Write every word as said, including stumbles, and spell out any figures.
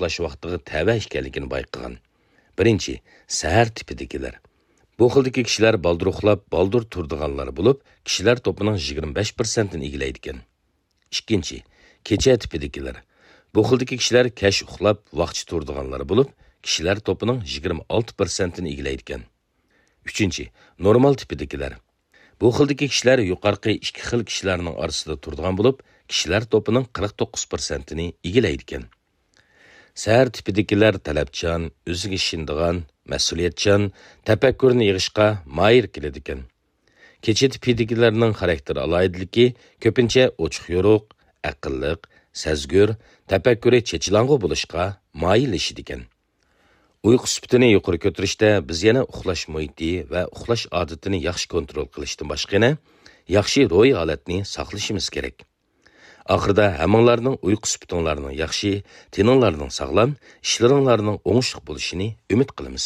ئۇخلاش ۋاقتىغا تەۋە ئىكەنلىكىنى بايقىغان. بىرىنچى، سەھەر تىپىدىكىلەر. بۇ خىلدىكى كىشىلەر بالدۇر ئۇخلاپ، بالدۇر تۇرىدىغانلار بولۇپ، كىشىلەر توپىنىڭ يىگىرمە بەش پىرسەنتىنى ئىگىلەيدىكەن. ئىككىنچى، كېچە تىپىدىكىلەر. بۇ خىلدىكى كىشىلەر كەچ ئۇخلاپ، ۋاقچە تۇرىدىغانلار بولۇپ، كىشىلەر توپىنىڭ يىگىرمە ئالتە پىرسەنتىنى ئىگىلەيدىكەن. ئۈچىنچى، نورمال تىپىدىكىلەر. بۇ خىلدىكى كىشىلەر يۇقىرىقى ئىككى خىل كىشىلەرنىڭ ئارىسىدا تۇرىدىغان بولۇپ، كىشىلەر توپىنىڭ قىرىق توققۇز پىرسەنتىنى ئىگىلەيدىكەن. سەھەر تىپىدىكىلەر تەلەپچان، ئۆزىگە ئىشىنىدىغان، مەسئۇلىيەتچان، تەپەككۇرنى يىغىشقا ماھىر كېلىدىكەن. كېچە تىپىدىكىلەرنىڭ خاراكتېر ئالاھىدىلىكى كۆپىنچە ئوچۇق-يورۇق، ئەقىللىق، سەزگۈر، تەپەككۇرى چېچىلاڭغۇ بولۇشقا مايىللىشىدىكەن. ئۇيقۇ سۈپىتىنى يۇقىرى كۆتۈرۈشتە بىز يەنە ئۇخلاش مۇھىتى ۋە ئۇخلاش ئادىتىنى ياخشى كونترول قىلىشتىن باشقا يەنە ياخشى روھىي ھالەتنى ساقلىشىمىز كېرەك. ئاخىرىدا ھەممىڭلارنىڭ ئۇيقۇ سۈپىتىڭلارنىڭ ياخشى، تېنىڭلارنىڭ ساغلام، ئىشلىرىڭلارنىڭ ئوڭۇشلۇق بولۇشىنى ئۈمىد قىلىمىز.